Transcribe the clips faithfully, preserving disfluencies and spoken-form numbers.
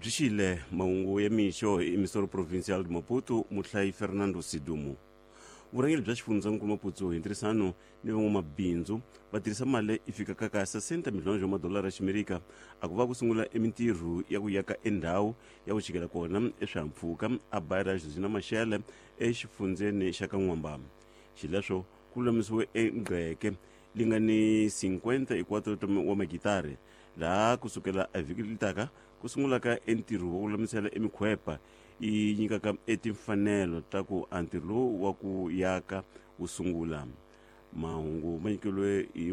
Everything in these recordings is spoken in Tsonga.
Byi xile mahungu ya mixo hi emisoro provincial de Maputo, muhlayi Fernando Sidumo. Vurhangeri bya xifundzankulu Maputo hi ntirhisano ni van'wamabindzu va tirhisa mali yi fikaka ka sessenta milhone wa madolara ya ximerika a ku va ku sungula emintirho ya ku yaka endhawu ya ku chikela kona eswihahampfhuka a bayira Josina Machel exifundzeni xa ka N'wamba. Xileswo ku lulamisiwe engqeke li nga ni cinquenta e quatro wa magitari, laha kusukela evhiki leri taka ku sungulaka entirho wa ku lulamisela emikhwepa yi nyikaka etimfanelo ta ku a ntirho lowu wa ku yaka wu sungula. Mahungu ma nyikeliwe hi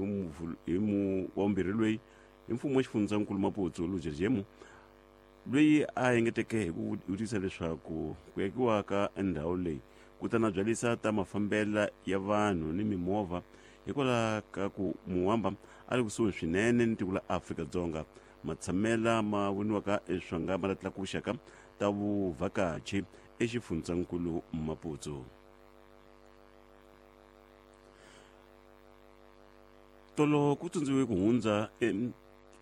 hi mu wa vumbirhi loyi hi mfumo wa xifundzankulu Maputo Luja Jemu, loyi a engeteke hi ku vutisa leswaku ku yakiwa ka ndhawu leyi ku ta na byalisa ta mafambela ya vanhu ni mimovha hikwalaho ka ku Muwamba a ri kusuhi swinene ni tiko la Afrika-Dzonga, matshamela ma voniwaka eswanga ma la tlakuxaka ta vuvhakachi exifundzankulu Maputo. Tolo ku tsundzukiwe ku hundza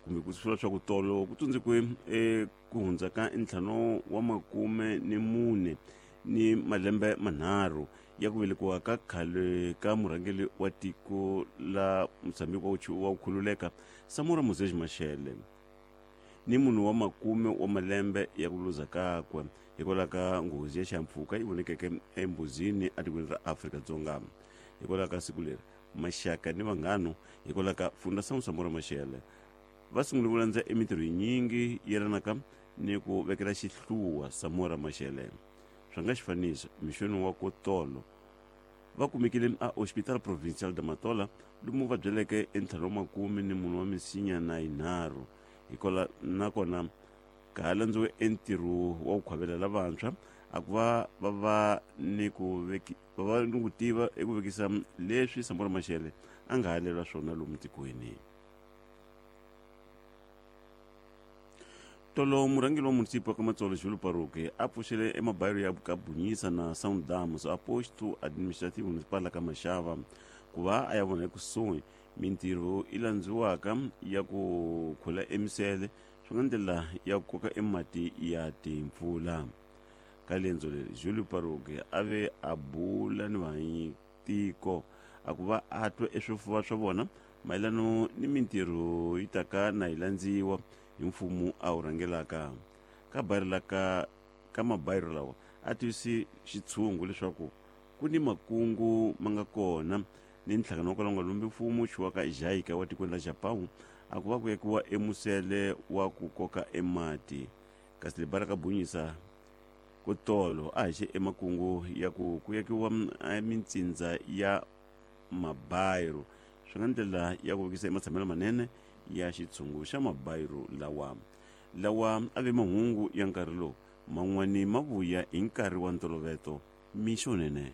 kumbe ku sula swa ku tolo ku tsundzukiwe ku hundza ka ntlhanu wa makume ni mune ni malembe manharhu ya ku velekiwa ka khale ka murhangeri wa tiko la Mozambique wa ku khululeka Samora Moses Machel ni munhu wa makume wa malembe ya ku luza kakwe hikwalaho ka nghozi ya xihahampfhuka yi vonekeke embuzini etikweni ra Afrika-Dzonga. Hikwalaho ka siku leri maxaka ni vanghano hikwalaho ka Fundação Samora Machel va sungule ku landza emintirho yinyingi yelanaka ni ku vekela xihluwa Samora Machel. Swa nga xifaniso mixweni wa kotolo va kumekile a Hospital Provincial de Matola lomu va byeleke entlhanu wa makume ni munhu wa misinya na yinharhu hikwalaho nakona ka ha landziwe entirho wa ku khwavela lavantshwa a ku va va va ni ku veki va va ni ku tiva eku vekisa leswi Samora Machel a nga halelwa swona lomu tikweni. Tolo murhangeri wa munisipa ka Matsolo Julu Paruke a pfuxele emabayiro ya Kabunyisa na Sundowns a posto administrativo municipal ka Mashava ku va a ya vona ekusuhi mintirho yi landziwaka ya ku khula emisele swi nga ndlela ya ku koka emati ya timpfula. Ka lendzo leri Julu Paruke a ve a bula ni vahanyitiko a ku va a twa eswifuva swa vona mayelano ni mintirho yi taka na yi landziwa hi mfumo a wu rhangelaka. Ka bayiro la ka ka mabayiro lawa a tivisi xitshungu leswaku ku ni makungu ma nga kona ni nhlangano wa kwalaho nga lumbi mfumo xiwaka JICA wa tikweni la Japan a ku va ku yakiwa emusele wa ku koka emati. Kasi le bara ka Bunyisa ku tolo a haxe emakungu ya ku ku yakiwa mitsindza ya mabayiro swi nga ndlela ya ku vekisa ematshamelo manene ya xitshungu xa mabayiro lawa. Lawa a ve mahungu ya nkarhi lowu man'wani ma vuya hi nkarhi wa ntoloveto mixo nene.